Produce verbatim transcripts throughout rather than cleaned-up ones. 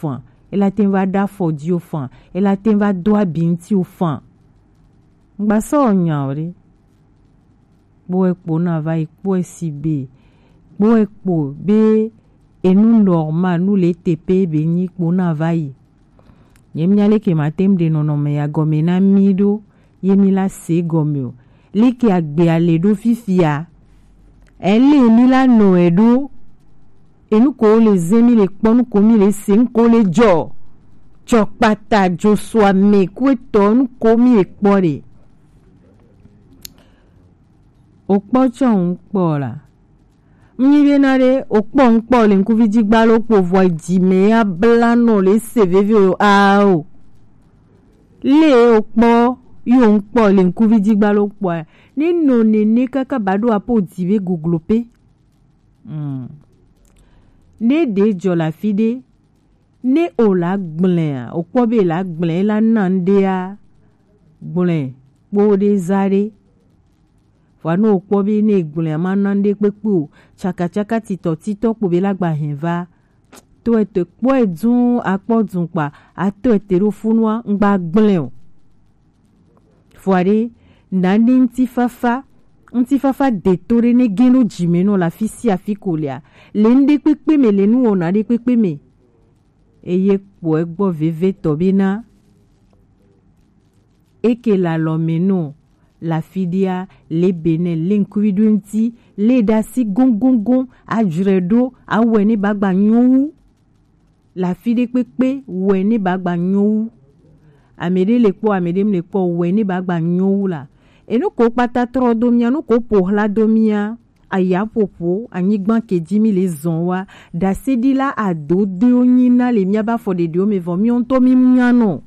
fan, e la te ŋu va ɖo afɔ ji o fan, e la te ŋu va do abi ŋuti o fan. Ŋgba sɔ nya o ɖe. Kpɔe kpo na va yi kpɔe si be. Kpɔe kpo be enu normal nu le te pe be nyi kpo na va yi. Nye mía leke ma tem ɖe nɔnɔme ya gɔme na mí ɖo, ye mí la se gɔme o. Leke agbe a le ɖo fifia? Ele mí la nɔ e ɖo. Enu ko le ze mí le kpɔ, nu ko mí le se, nu ko le jɔ. Jɔ kpata jo so ame ku etɔ nu ko mí le kpɔ ɖe. O kpɔ tsɔ ŋu kpɔ la. Nyi be na ɖe o kpɔ ŋkpɔ le ŋkuvi ji gba lo kpo vɔ dzi me ya bla nɔ le se veve o a o. Le o kpɔ yo ŋkpɔ le ŋkuvi ji gba lo kpɔ a. Ne nɔ nene kaka ba ɖo apo dzi be goglo pe. Mm. Ne ɖe jɔ la fi ɖe. Ne o la gblẽ a, o kpɔ be la gblẽ la na ŋɖe a, gblẽ kpo ɖe za ɖe. Vɔa ne o kpɔ be ne gblẽ a ma na ŋɖe kpekpe o, tsakatsaka titɔ titɔ kpo be la gba hɛn va. To ete kpɔ e dun akpɔ dun kpa, ato ete ɖo funua ŋgba gblẽ o. Vɔa ɖe, na ne ŋutifafa, ŋutifafa deto ɖe ne gẽ ɖo dzi me nɔ le afi sia afi ko lea, le ŋɖe kpekpe me, le nuwɔna ɖe kpekpe me. Eye kpɔe gbɔ vevetɔ bena eke le alɔme nɔ le afi ɖea, le Benɛ, le ŋkuvi ɖo ŋuti, le ɖe asi goŋgoŋgoŋ, adzɔe ɖo, awɔe ne ba gba nyɔ wu. Le afi ɖe kpekpe wɛ ne ba gba nyɔ wu. Ame ɖe le kpɔ, ame ɖe mu le kpɔ wɛ ne ba gba nyɔ wu la. Enu ko kpata trɔ do mía, nu ko ƒo hla do mía. Ayaƒoƒo, anyigba ke dzi mí le zɔn wa. Ɖaseɖila adodoewo nyi na le míabe afɔɖeɖewo me vɔ míwo ŋutɔ mí nya nɔ.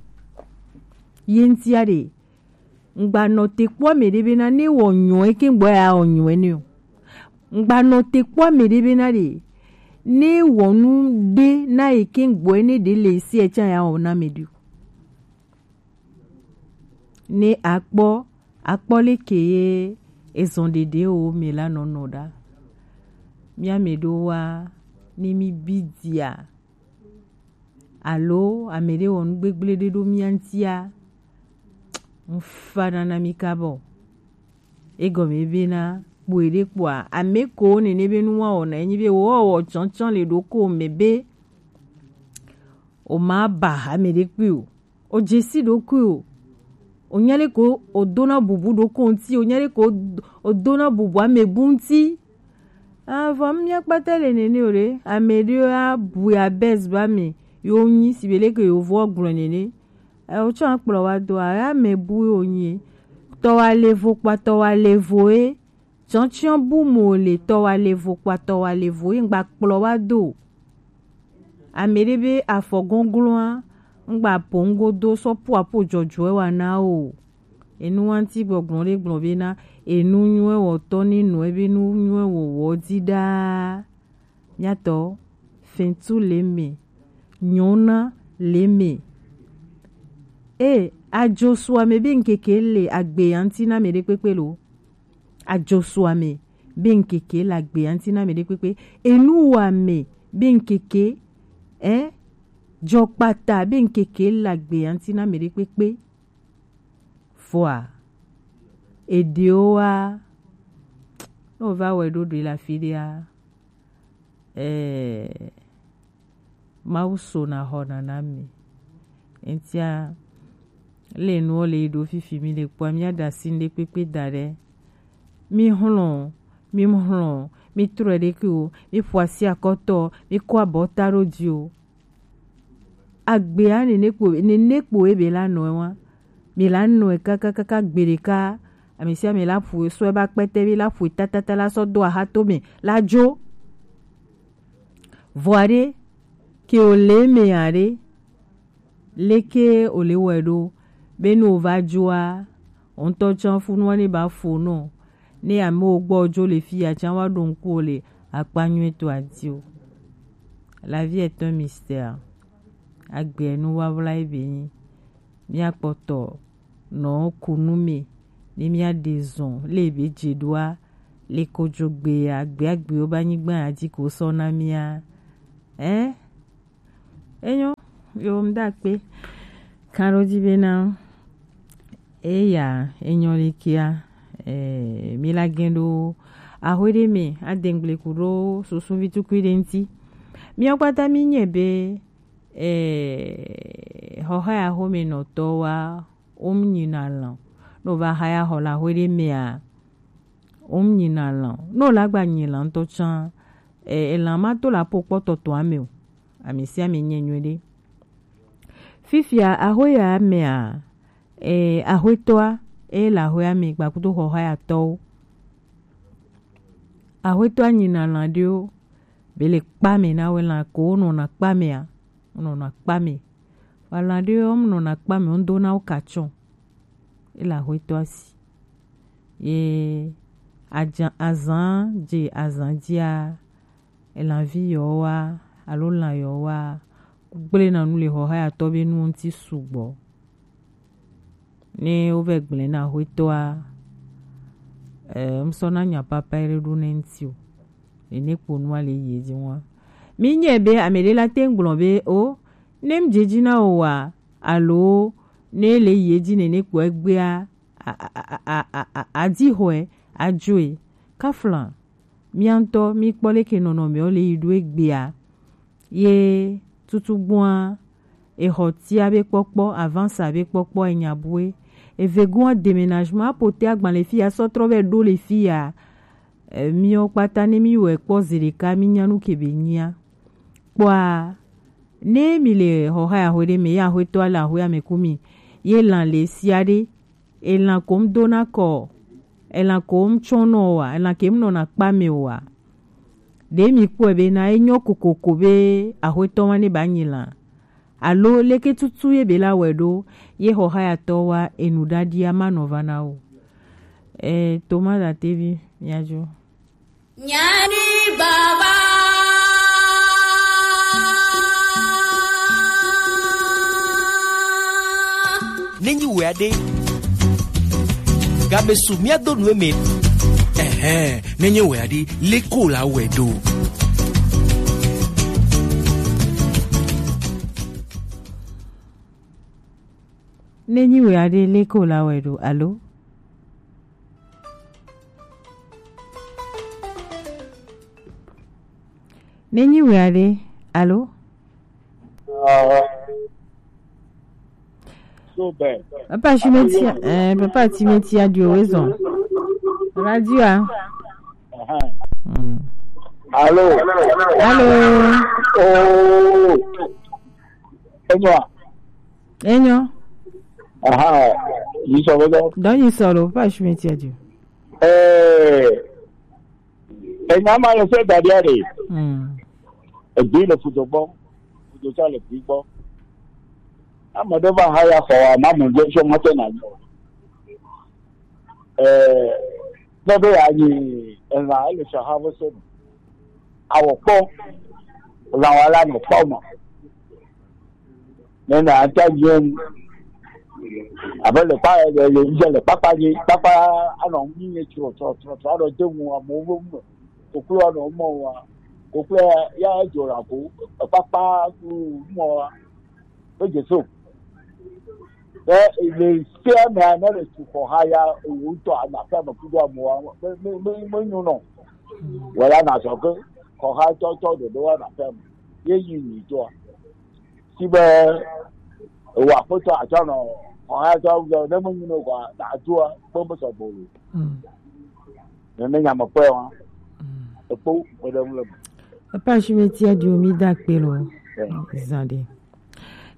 Ye ŋutia ɖe, ŋgba nɔ te kpɔ ame ɖe bena ne wɔ nyɔe ke ŋgbɔ ya wɔ nyɔe ne o. Ŋgba nɔ te kpɔ ame ɖe bena ɖe ne wɔ nu ɖe na yi ke ŋgbɔ ne ɖe le si etsã ya wɔ na ame ɖe o. Ne akpɔ akpɔ leke ye ezɔn ɖeɖe o me la nɔnɔ ɖa. Mía me ɖo wa ne mí bi dia. Alo ame ɖe wɔ nu gbegblẽ ɖe ɖo mía ŋutia, ŋfa nana mí kabɔ. Egɔme bena kpoe ɖe kpoa, ame ko nene be nu wa wɔna enyi be wo wɔ tsɔntsɔn le ɖoko me be o ma ba ame ɖe kpui o. O dze si ɖokui o. O nya ɖe ko o dona bubu ɖoko ŋuti, o nya ɖe ko o dona bubu ame bu ŋuti. Avɔ mía kpata le nene o ɖe, ame ɖewo abui abɛs ba me, yo nyi si be leke yovowo gblɔ nene. E, wotsɔ akplɔ wa do a, ame bu yo nyi. Tɔ wa le vo kpa tɔ wa le vo e. Tsɔtsiɔ bu mo le tɔ wa le vo kpa tɔ wa le vo e, ŋgba kplɔ wa do. Ame ɖe be afɔ gɔngloa, ŋgba po ŋgodo sɔ po apo jɔjɔɛ wa na o. Enu wa ŋuti gbɔgblɔ ɖe gblɔ be na enu nyuɛ wɔtɔ ne nɔ ebe nu nyuɛ wɔwɔ di ɖaa. Miatɔ, fɛntu le me, nyɔna le me. E, ajosuame be ŋkeke le agbe ya ŋuti na ame ɖe kpekpe lo. Ajosuame be ŋkeke le agbe ya ŋuti na ame ɖe kpekpe. Enuwame be ŋkeke, eh, jɔkpata be ŋkeke le agbe ya ŋuti na ame ɖe kpekpe. Vɔa, eɖewoa, ne wova wɔe ɖo ɖoe le afi ɖea, ɛɛ, Mawu sona xɔna na mi. Eŋutia, le nuwo le yi ɖo fifi mi le kpɔa, mía ɖe asi ŋɖe kpekpe da ɖe. Mi hlɔ̃, mi hlɔ̃, mi trɔe ɖe ke o, mi ƒo asi akɔtɔ, mi kɔ abɔta ɖo dzi o. Agbea nene kpo, nene kpo ebe la nɔe wa. Mi la nɔe kakakaka gbe ɖeka. Ame sia ame la ƒo sɔe ba kpɛtɛ be la ƒoe tatata la sɔ do ahatome la dzo. Vɔa ɖe, ke o le me ya ɖe, leke o le wɔe ɖo, be ne o va dzoa, o ŋutɔ tsã funua ne ba fo nɔ, ne amewo gbɔ dzo le fi ya tsã wa ɖo ŋku o le akpa nyuietɔ adi o. La vie est un mystère. Agbe nu wawla ebe nyi. Míakpɔtɔ nɔ kunu me, ne míaɖe zɔn le ebe dze ɖoa, le kodzogbe agbeagbewo be anyigba ya dzi ko sɔ na mía. Ɛ? Enyo, Yo, mi da kpe. Kan ɖo ji bena eya enyɔ le kia, eh, mi la gɛn ɖo ahwe ɖe mɛ, adengble ku ɖo susuvi tukui ɖe ŋuti. Miɔ kpata mi nyɛ be, eh, xɔxa ya xome nɔtɔ wa, wo mu nyina lan. No va xa ya xɔ le ahwe ɖe mɛ a, wo mu nyina lan. No la gba nyi lan ŋutɔ tsã, eh, elan ma to la po kpɔtɔ to ame o. Ame sia ame nyɛ nyuie ɖe. Fifia, axwe ya mea, eh, axwetɔa, e le axwea me gba kudo xɔxayatɔwo. Axwetɔa nyina lan ɖewo, be le kpa me na wo, elan ko wo nɔna kpa mea, wo nɔna kpa me. Vɔ elan ɖewo, wo mu nɔna kpa me, wo do na wo katsɔ. E le axwetɔa si. Ye ajan-, azan je azan jia, elanvi yewo wa, alo lan yewo wa, gblẽ na nu le xɔxayatɔ be nu ŋuti sugbɔ. Ne wovɛ gblẽ na axwetɔa, eh, ŋsɔ na nya papa ɖe ɖo ne ŋuti o. Ene kpo nua le yi edzi ŋua. Mi nyɛ be ame ɖe la te ŋgblɔ be o, ne ŋdze dzi na o wa, alo ne le yi edzi nene kpo egbea, a, a, a, a, a, a, adi xɔe, adzoe. Kafla, mía ŋutɔ, mi kpɔ leke nɔnɔmewo le yi ɖo egbea. Ye tutugbua, exɔ tia be kpɔkpɔ, avance be kpɔkpɔ, enya bue. Eve gua déménagement, apote agbalẽ fi ya, sɔ trɔ vɛ ɖo le fi ya. E, miwo kpata ne mi wɛ kpɔ zeɖeka, mi nya nu ke be nyia. Kpɔa, ne mi le xɔxa ya xwe ɖe me, ya xwetɔ le axwe ame ku mi, ye lan le sia ɖe, elan ko ŋdona kɔ, elan ko ŋtsɔnɔ wa, elan ke ŋnɔna kpa me wa. Ɖe mi kpɔe be na enyo kokoko be axwetɔ wa ne ba nyi lan. Alo leke tutu ye be la wɛ ɖo, ye xɔxayatɔ wa enu ɖaɖia ma nɔ va na o. E, Thomas Datevi, miadzo. Nyani baba. Nenyi wɛ aɖe. Gabe su mía do nu eme. Ɛhɛn, nenyi wɛ aɖe, leko la wɛ ɖo. Nenyi wɛ aɖe, leko la wɛ ɖo, alo? Nenyi wɛ aɖe, alo? Ah. So bad. Papa Shimetia, eh, Papa Shimetia du horizon. Radio a. Aha. Mm. Allô? Allô? Oh. Enyo. Enyo. Aha. Yi sɔrɔ dɔ. Dɔ yi sɔrɔ, Papa Shimetia du. Eh. Enya ma le se da ɖia ɖe. Mm. Egbe le fudo gbɔ, fudo tsã le gbe gbɔ. Ame ɖe va haya xɔ wa, ma mu ɖe sɔ mɔte na nyɔ. Eh, ne be ya nyi elã, ele sɔ ha ve se me. Awɔ kpɔ, lã wa la nɔ kpɔ ma. Ne na ata nyem. Abe le kpa, le, le, le, le kpakpa nye, kpakpa anɔ ŋu nye trɔ, trɔ, trɔ, trɔ, anɔ de ŋu amewo be ŋu me. Koklo anɔ mɔ wa. Koklo ya, ya dzo la ko, kpakpa ku mɔ wa. Be Jesu. Be le sia me ne le tu xɔ ha ya, o ŋutɔ ana fɛ me kudo amewo, me, me, me, me nyo nɔ. Wala na sɔ ke, xɔ ha tɔ, tɔ dodo wa na fɛ me. Ye yi nyi tɔa. Si be, ewa kpɔtɔ atsɔ nɔ, xɔ ha tɔ, ne me nyi nɔ kɔa, na tua, kpɔ me sɔ bolo. Mm. Ne, ne nya me kpɔe wa. Mm. Ekpɔ, me ɖe ŋu le me. Epa shi me tia di o mi da kpe lo. Yeah. Zan ɖe.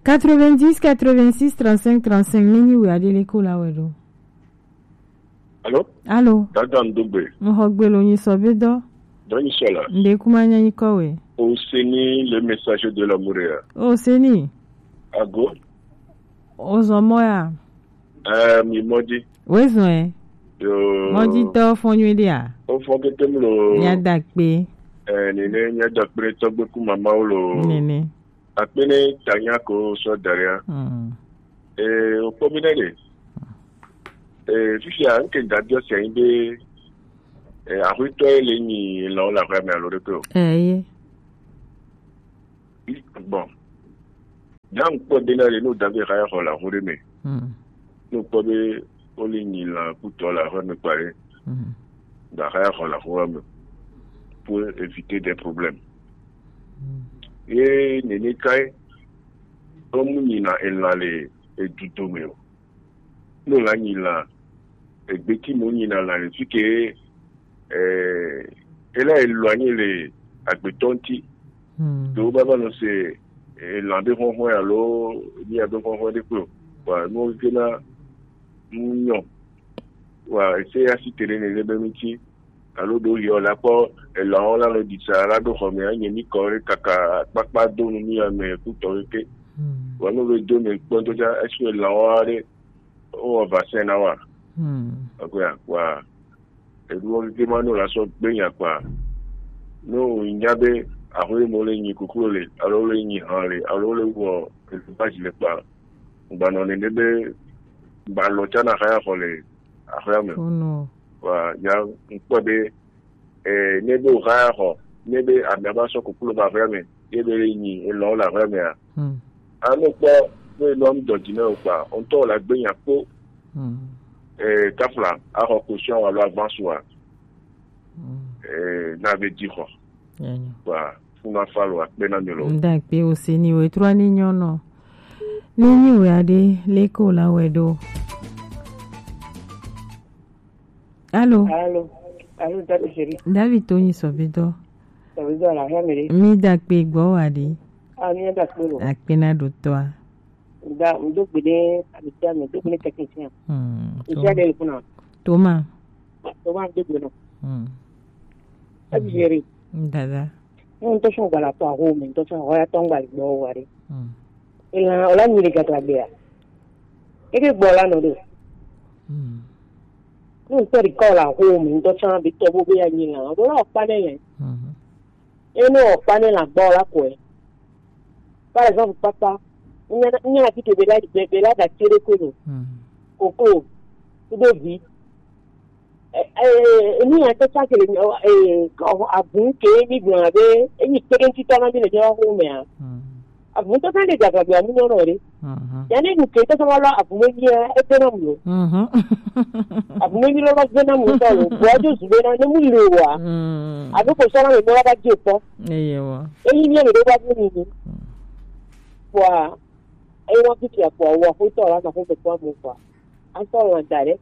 Quatre-vingt-dix, quatre-vingt-six, trente-cinq, trente-cinq, nenyi wɛ aɖe le ko la wɛ ɖo. Allô? Allô? Dada Ndogbe. Ŋxɔ gbe lo nyi sɔ be dɔ. Dɔ nyi sɔ la. Nde kuma nya nyi kɔ we. O seni le message de l'amour ya. O seni. Ago. O zɔn mɔ ya. Eh, mi mɔdi. We zɔn ɛ. Yo. Mɔdi tɔ fɔn nyui dia. O fɔn kete mlo. Nya da kpe. Eh, nene nya da kpe tɔgbe ku mama wo lo. Nene. Akpene tanya ko sɔ daria. Mm. Eh, okpɔ mi nɛ de. Eh, fifia nke dadio se anyi be, eh, axwetɔ ye le nyi lɔ la xɔ me alo ɖe ko. Eh, ye. Bon. Nyɔnu kpɔ de na ɖe no dave haya xɔ la ho ɖe me. Hmm. No kpɔ be wole nyi la kutɔ la ho me kpa ɖe. Hmm. Da haya xɔ la ho me pour éviter des problèmes. Hmm. Ye nene kai, o mu nyi na ela le edudo me o. No la nyi la, egbeti mo nyi na la le fi ke, eh, ela éloigné le agbetɔ ŋuti. Hmm. Do baba no se, eh, lan be hɔhɔ alo ni abe hɔhɔ de kpo. Wa no ke na nyɔ. Wa ese ya si tere ne le be ŋuti. Alo ɖo yi o la kpɔ elan o la lo disa la ɖo xɔ me anye mi kɔ ɖe kaka kpakpa do nu mi ame kutɔ ke. Hmm. Wa no be do me kpɔ ŋutɔ tsa esi elan o ɖe o wɔ vaccin na wa. Hmm. Akɔya wa eɖuwo keke ma no la sɔ gbe nya kpa. No nya be aho mo le nyi kuklo le alo le nyi han le alo le wɔ eɖu ba ji le kpa. Gbanɔ nene be gbalɔ tsa na haya xɔ le ahoya me. Ono. Wa ya ŋkpɔ be, eh, ne be o haya xɔ, ne be amia ba sɔ koklo ba ahoya me, ye be le nyi elɔ le ahoya me a. Hmm. Ano kpɔ be elɔ mi dɔ dzi ne o kpa, o ŋutɔ la gbe nya kpo. Hmm. Eh, kafla, axɔ caution alo avance wa. Hmm. Eh, na be dzi xɔ. Enyo. Wa funa falo akpe na mi lo. Nda kpe o se ni o etrɔ ni nyɔ nɔ. Ni nyi o ya de le ko la wɛ do. Alo. Alo. Alo, David chéri. David to nyi sɔbidɔ. Sɔbidɔ la hɛ mi de. Mi da kpe gbɔ wa de. A mi da kpe lo. Akpe na do tɔ a. Da, mi do gbe de, abi tia mi do gbe de technicien. Hmm. Mi tia de kuna. Toma. Toma do gbe no. Hmm. David chéri. Dada. Ŋutɔ sɔ gbala tɔ aho mi, ŋutɔ sɔ hoya tɔ ŋgbali gbɔ wa de. Hmm. Ela o la nyi de gata gbea. Eke gbɔ la nɔ do. Hmm. Ŋutɔ di kɔ la ho mi, ŋutɔ sɔ bi tɔ bo be ya nyi la, o la o kpa ne le. Hmm. Eno o kpa ne la gbɔ la kɔe. Par exemple, papa, nya nya ti ke be la be la da tere ko no. Hmm. Koko, ku do vi. Eh, eh, emi ya tɔ sa kele, eh, ko agun ke mi gbɔn be, emi kpɛrɛ ŋuti tɔ na mi le nyɔ ho mea. Hmm. Agun tɔ sa le gagla gbe amu nyɔ nɔ re. Mhm. Ya ne nu ke tɔ sa wa la agun mi ya e pe na mu. Mhm. Agun mi lo lo gbe na mu tɔ lo. Bo jo zu be na ne mu le wa. Hmm. Abe ko sɔ na me mo la ba je tɔ. Eye wa. Eyi mi le do ba bu ni ni. Hmm. Kwa, e wa ki ti a kwa wa ko tɔ la na ko ko mu kwa. An tɔ la da re.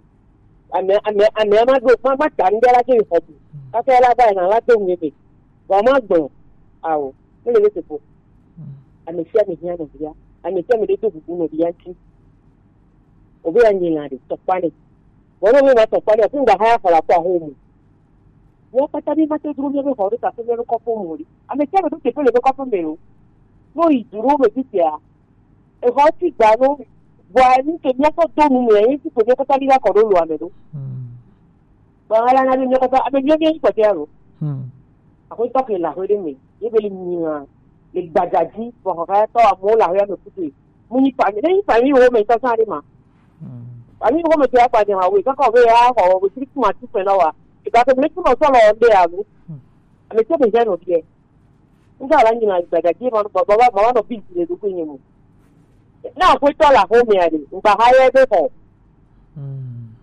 Ame, ame, ame ma ɖo, ma, ma ta ŋɖe la ke xɔ bu. Kaka la va yina la do ŋu ebe. Vɔ ma gbɔ. Awo. Mele be teƒo. Ame sia ame hiã nɔvia. Ame sia ame ɖe do bubu nɔvia ŋuti. Obe ya nyi la ɖe, tɔkpa ne. Vɔ ne obe ma tɔkpa ne, afi ŋgba hã ya xɔ la kɔ aho mu. Mía kpata mi ma te dro mía be xɔ ɖe tafe mía be kɔƒe me o ɖe. Ame sia ame ɖo teƒe le be kɔƒe me o. Ne oyi du ɖewo me fifia, exɔ ti gba no, vɔa nu ke míakɔ do nu mea, ye ti ko míakɔ ta ɖi va kɔ ɖo lo ame ɖo. Hmm. Vɔa la na be míakɔ ta, ame mío mío yi kpɔtɛ alo. Hmm. Aƒetɔ ke le aƒe ɖe me, ye be le nyina, le gbadza dzi, vɔ xɔxɔyatɔ amewo le aƒea me kuku. Mu nyi fami, ne nyi fami wo me tɔ sa ɖe ma. Hmm. Fami wo me tɔ ya kpa de ma wo, kaka be ya xɔ wo tri kuma tu fɛ na wa. Ega ke me tu nɔ sɔ lɔ de alo. Hmm. Ame tɔ be ya no biɛ. Ŋgba la nyina gbadza dzi ma nɔ baba ma nɔ bi le ɖokui nye mo. Na aƒetɔ le aƒe mea ɖe, ŋgba ha ye be xɔ. Hmm.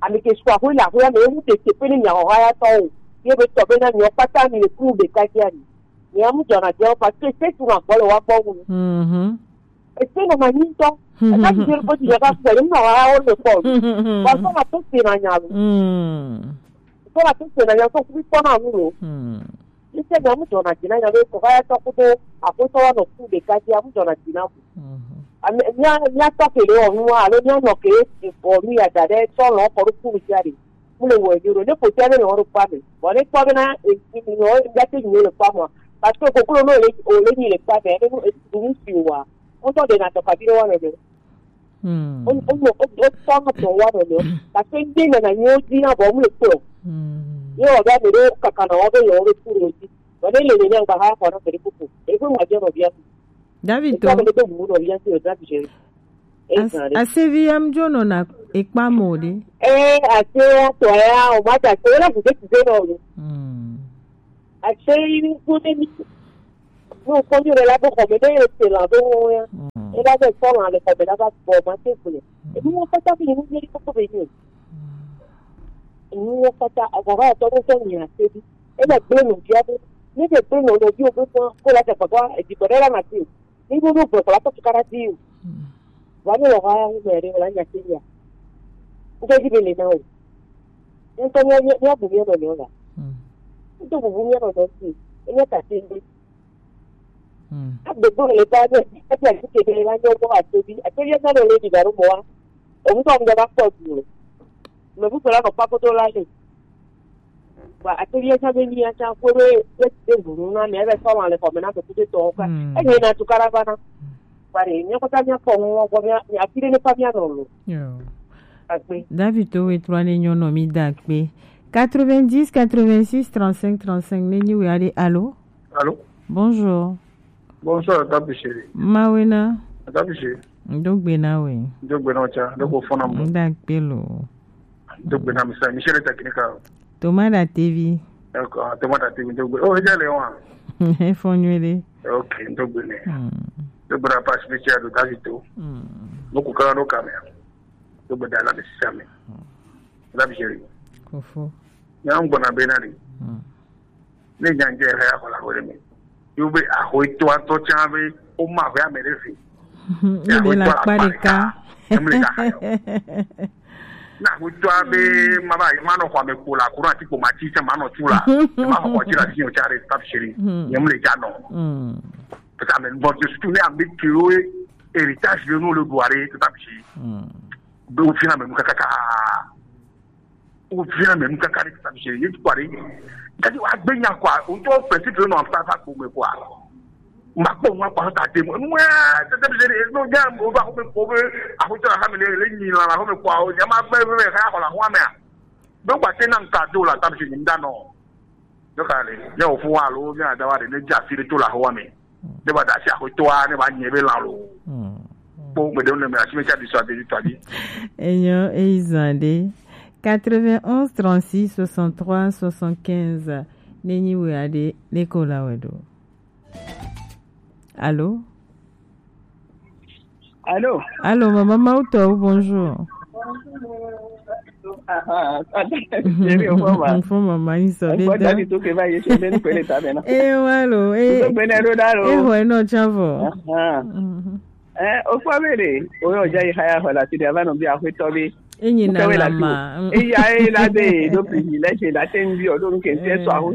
Ame ke su aƒe le aƒea me, ewu te teƒe ne mia xɔ ha ya tɔ o. Ye be tɔ be na mia kpata mi le kuru ɖeka dzi ani. Mia mu dzɔna dze o, parce que se tu na gbɔ le wa gbɔ wu. Mhm. Ese nɔ ma nyi ŋutɔ. Eka ti dze ko ti dze ka sɔ, ye mu na wa wo le kpɔ. Wa sɔ ma to se na nya lo. Hmm. Sɔ ma to se na nya, sɔ kubi kpɔ na nu lo. Hmm. Ese nya mu dzɔna dzi na nya be kɔkɔyatɔ kudo aƒetɔ wa nɔ ku ɖeka dzi, amu dzɔna dzi na mu. Mhm. Ame, mía, mía tɔ ke le wɔ nu wa, alo mía nɔ ke wɔ nu ya da ɖe sɔ lɔ kɔ ɖo kuru dzi a ɖe. Mu le wɔ nyo ɖo, ne ko tia be le wɔ ɖo kpa me. Bɔ ne kpɔ be na, e, e, e, e, ya te nyo le kpa mɔ. Parce que koklo no le, o le nyi le kpa me, ne nu, e, nu si wa. Ŋutɔ ɖe na tɔ kabi ɖe wa me ɖe. Hmm. O, o, o, o tɔ na tɔ wa me ɖe. Parce que ŋde na na nyo di na bɔ mu le kpɔ. Hmm. Ye wɔ be ame ɖewo kaka na wɔ be yewo ɖo kuru dzi. Vɔ ne le nenea ŋgba ha xɔ na ame ɖe koko. Eƒe ŋgba dze nɔvia. David to. Eƒe ame ɖe do bubu nɔvia si le David dze. As-, asevi ya mdzo nɔna ekpa mo ɖe. Eh, ase ya tɔ ya, o ma ta se la ŋde ti de nɔ lo. Hmm. Ase yi ko ne mi. No ko nyo le la bo xɔ me ne ye se la bo ya. Hmm. E la be sɔ lan le xɔ me la va gbɔ ma te gble. Enu wo kpata be nu yeli koko be ni. Enu wo kpata agba ba tɔ do sɔ nya te bi. E le gble nu bia be. Ne be gble nu no bi o be ko la te papa e di ko la ma te. Ni bo do gbe ko la to kara di. Wa ni lo ha me re la nya te ya. Nge di be le na o. Nto nya nya bu mi no no la. Nto bu mi no no ti. E nya ta te. Agbegbe le ba ne ati ati kebe la nyɔ bɔ atobi atobi esa le le digaro mɔ wa. Omu tɔ mu dɔ ba kpɔ du le. Me bu kpɔ la nɔ kpakpoto la le. Ba atobi esa be ni asa kpe be be te vunu na me be sɔ ma le kɔ me na me kute tɔ ka. Enye na tu kara ba na. Ba re nyɔ kɔta nyɔ kpɔ mu wɔ bɔ mi a mi a fi de ne fa mi a nɔ lo. Yo. Akpe. David to we trɔ ne nyɔ nɔ mi da kpe. Quatre-vingt-dix, quatre-vingt-six, trente-cinq, trente-cinq, ne nyi we ade, allô? Allô? Bonjour. Bonsoir, Papi Chéri. Mawena. Papi Chéri. Ndogbe na we. Ndogbe na cha, ndogbe fona mo. Ndakpe lo. Ndogbe na misa, Michel Technical. Tomada T V. D'accord, Tomada T V, ndogbe. Oh, ejale wa. E fo nyuie de. Ok, ndogbe ne. Ndogbe na pas spécial de Davito. Ndogbe kala no kamera. Ndogbe dala de same. Papi Chéri. Kofo. Nya ngbo na be na ni. Ne nya nje ha ya kola hore me. Yo be ahoe to ato cha be o ma be ame re fi. Ni be la pa de ka. Em le ka ha yo. Na ho to be ma ba ma no kwa me ko la ko na ti ko ma ti cha ma no chu la. Ma ho ko ti la ti o cha re Papi Chéri. Em le cha no. Parce que même bon, je suis tourné à mes kilos et héritage de nous le doiré tout à petit. Be o fina me mu kakaka. O fina me mu kakari ta bi se ye tu kwari. Kati wa gbe nya kwa, o to principe no am sa sa ko me kwa. Ma ko wa kwa ta te mo. Nwe, te te bi se no nya mo ba ko me ko be. A ko ta ha me le le ni la la ko me kwa o nya ma gbe be ka ko la ho me a. Be kwa te na nka do la ta bi se ni nda no. Yo ka le, ya o fu wa lo, ya da wa de ne ja fi de to la ho me. Ne ba da si a ko to a, ne ba nye be la lo. Bon, mais donc, mais si me cha du soir de toi dit. Enyo, e izande. Quatre-vingt-onze, trente-six, soixante-trois, soixante-quinze. Nenyi we ade, le ko la we do. Allô? Allô? Allô, maman Mauto, bonjour. Ah, ah, ah, chérie, au revoir. Faut maman, il se Au revoir, détend. David, tout que va, je suis bien, que les tables, non? Eh, allô, eh. Tout bien, allô, allô. Eh, ouais, non, tiens, vous. Ah, ah. Eh, o fa be le, o yo ja yi haya hola ti de ava no bi a hwe to be. Enyi na la ma. E ya e la be do privilège la ten bi o do ke te so aho.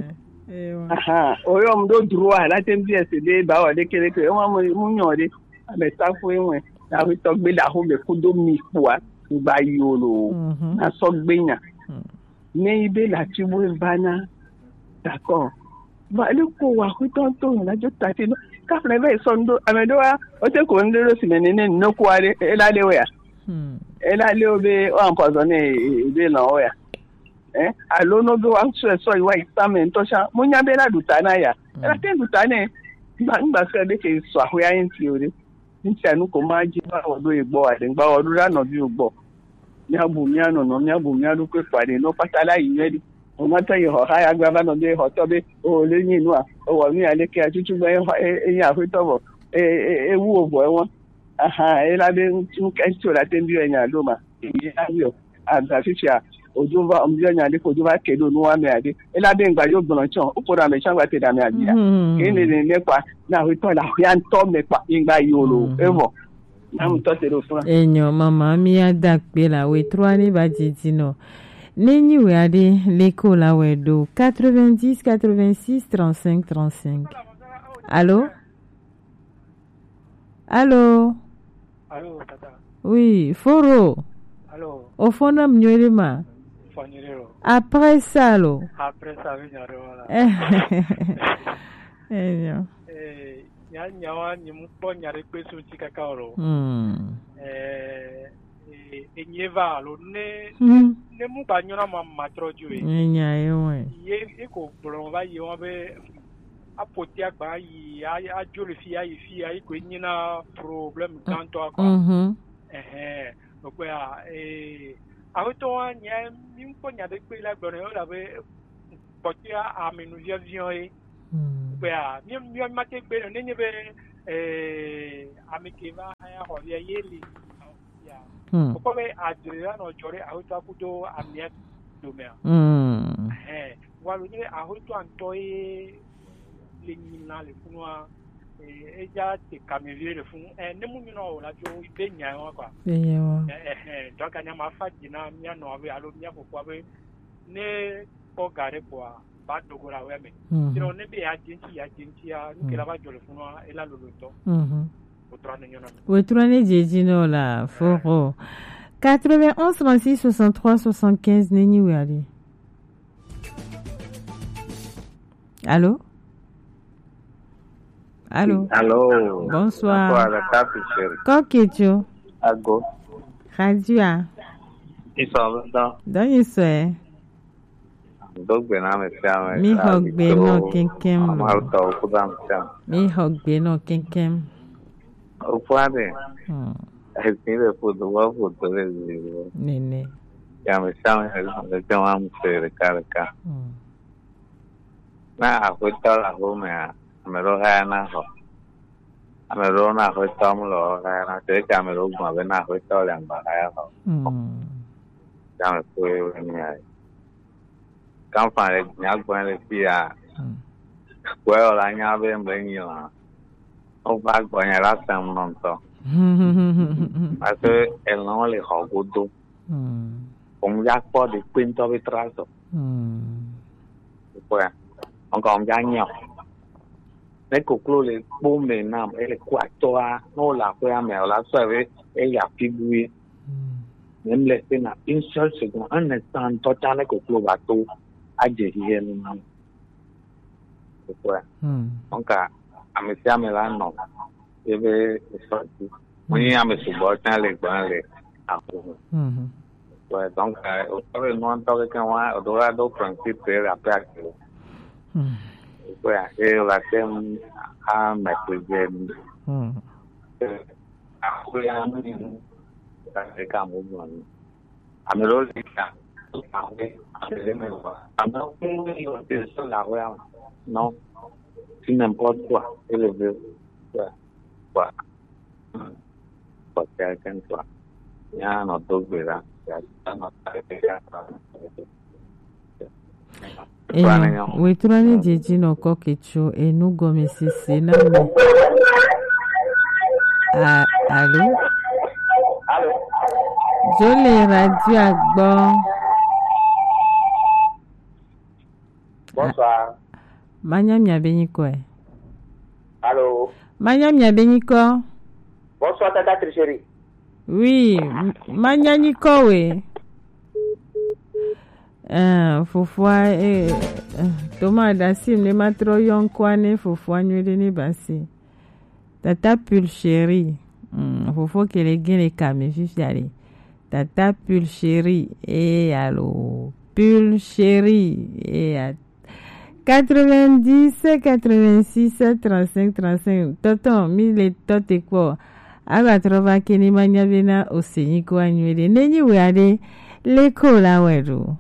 Aha, o yo mdo droit la ten bi e se de ba o de kele ke o ma mu nyo de. Ame ta fu enwe. Na hwe to gbe la ho me kudo mi kwa. Ba yo lo. Na so gbe nya. Ne ibe la ti bo e ba na. D'accord. Ba le ko wa hwe to to na jo ta ti no. Ka fle be so ndo. Ame do a. O te ko ndo lo si me ne ne no kwa de. E la de we a. E la le o be o empoisonné e be na o ya. Eh, alo no be wa so so wa isa me nto sha. Mo nya be la du ta na ya. E la te du ta ne. Ngba ngba se de ke so ahwe a yin ti o de. Nti anu ko ma ji ba wo do e gbo wa de. Ngba wo do la no bi o gbo. Mia bu mia no no, mia bu mia du kwe kwa de. No pata la yi ne di. O ma ta yi ho ha ya gba ba no de ho to be. O le ni nu a. O wo mi a le ke a tutu gba e ho e e ya hwe to bo. E e e wu o bo e won. Aha, e la be ŋutsu ŋutsu la te ŋdi enya ɖo ma. Ye la yɔ. Agba fifia, odzo va, ŋdi enya ɖe ko dzo va ke ɖo nu wa me aɖe. E la be ŋgba yo gblɔ tsɔ, o ko ɖa me tsɔ gba te ɖa me aɖi ya. Ke ne ne ne kpa, na ho tɔ la ho ya ŋtɔ me kpa, ŋgba yo lo, evɔ. Na ŋtɔ te ɖo fún. Enyo, mama, mi ya da kpe la, we trɔ ni va didi nɔ. Ne nyi we aɖe, le ko la we ɖo, quatre-vingt-dix, quatre-vingt-six, trente-cinq, trente-cinq. Allô? Allô? Allô, tata. Oui, Foro. Allô? O fo na m nyuie ma. Fo nyuie lo. Après ça, lo. Après ça, oui, nyaro, voilà. Eh, non. Eh, nya, nya wa, nyi mu kpɔ nya ɖe kpe sun ti kaka o lo. Hmm. Eh, eh, enyi va lo ne, ne mu ba nyɔna ma, ma trɔ ju e. Nya ye wɛ. Ye, ye ko gblɔ va ye wa be, apoti agba yi, a, adzo le fi, ayi fi, ayi koe nyina problème gãtɔ, quoi. Mhm. Ɛhɛn, ɖokpɛ a, ee, aƒetɔ wa, nya, mi ŋkpɔ nya ɖe kpe la gblɔ nɛ, wole abe kpɔtɔe ame nu viɔviɔ ye. Hmm. Ɖokpɛ a, mi, mi, mi ma te gbe nɔ, nenye be Ee, ame ke va hã ya xɔ via ye li. Ya. Hmm. Wokpɔ be adre la nɔ dzɔ ɖe ahotɔ kudo amia dome a? Hmm. Ɛhɛn. Wa lo nye ahotɔ ŋutɔ ye le nyi na le funua, eh, edza te kame vie le funu. Eh, ne mu nyina o la dzo be nya wa kwa. Be nya wa. Eh, eh, eh, donc anya ma fa dzi na mia nɔ be alo mia fofoa be ne kpɔ ga ɖe kpɔa, va do go le aƒea me. Mhm. Sinon, ne be yeadze ŋuti, yeadze ŋutia, nu ke la va dzɔ le funua, ela lolo ŋutɔ. Mhm. Wotrɔ ne nyɔna. Wotrɔ ne dzedzi nɔ la, foro. Quatre-vingt-onze, trente-six, soixante-trois, soixante-quinze, nenyi wea ɖi. Allô? Allô? Allô? Bonsoir. Bonsoir, la table chérie. Kokecho. Ago. Radio a. Ils sont dedans. Donc, ils sont. Do gbe na ame sia ame. Mi xɔ gbe nɔ keŋkeŋ lo. Amal tɔ kudo ame sia ame. Mi xɔ gbe nɔ keŋkeŋ. Oƒua ɖe. Hmm. Esi le foto, wa foto le zi. Nene. Ya ame sia ame le zi, le zi wa mu se ɖeka ɖeka. Hmm. Na aƒetɔ le aƒemea, ame ɖewo haya na xɔ. Ame ɖewo na aƒetɔ mu le xɔ haya na. Te ke ame ɖewo gbɔn be na aƒetɔ le agba haya xɔ. Hmm. Ya ame kpɔe wo nya. Kamfan le nya gbɔn le fia. Hmm. Kpɔe wo la nya be mbe nyi la. Wova gbɔnye la sem nɔ ŋutɔ. Parce que elɔ̃ le xɔ godo. Hmm. Wòm ya kpɔ ɖekpe ŋutɔ be trasɔ. Hmm. Kpɔe. Ŋkɔ wòm ya nyɔ. Ne koklo le kpo me nam, ele ku atɔa, ne wòle aƒea me, wòla sɔe be eya fi bui. Hmm. Ne mle se na une seule seconde, un instant ŋutɔ tsã ne koklo va to, adze xixe nu nam. Kpɔe. Hmm. Donc, ame sia ame la nɔ ebe esɔ dzi. Wonye ame sugbɔ tsã le gbɔn le aƒe me. Mhm. Ouais, donc, euh, wotɔ be nua ŋutɔ keke wa, woɖo la ɖo principe le aƒe ake. Hmm. Ouais, et la thème a maîtriser. Hmm. Aƒe ya nu ni nu. Ka se ka mo mo ni. Ame ɖewo le ta. Aƒe, ame ɖe me wa. Ame ɖewo le ta. Non. Tu n'importe quoi. Et le vrai. Ouais. Quoi. Quoi, quelqu'un soit. Il y a un autre gbe là. Il y a un autre gbe là. Eya, wetrɔ ni dzedzi nɔ kɔ ketso enu gɔme sese na mi. A, alo? Alo? Dzo le radio agbɔ. Bonsoir. Manya mia be nyikɔe. Alo? Manya mia be nyikɔ. Bonsoir, Tata Tricherie. Oui, m-, manya nyikɔ we. Eh, fofoa, eh, eh, toma dasi ne matrɔ yɔ ŋkɔa ne fofoa nyuie ɖe ne basi. Tata Pulchérie. Mm, fofo kele gele kame fifia ɖe. Tata Pulchérie. Eh, alo. Pulchérie. Eh, a-, quatre-vingt-dix, quatre-vingt-six, trente-cinq, trente-cinq. Tonton, mi le tɔte kpɔ. Aba trɔ va ke ni manya bena o se nyikɔa nyuie ɖe. Ne nyi wea ɖe, le ko la wɛ ɖo.